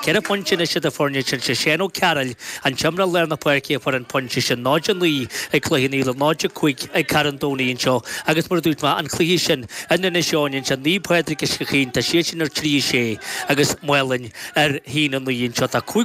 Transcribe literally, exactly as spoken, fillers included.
Ceithre phointe anois idir foirne sin sé Shane Ó Cearaill an t-imreoir lár na páirce a fuair an pointe sin náid a naoi ag Cloich Cheann Fhaola náid a cúig ag Carn Domhnach anseo agus mar a dúirt mé an cluiche sin in Inis Eoghain anseo Naomh Pádraig Uisce Chaoin tá siad sin ar trí a sé agus Maolainn ar haon a naoi anseo tá cúig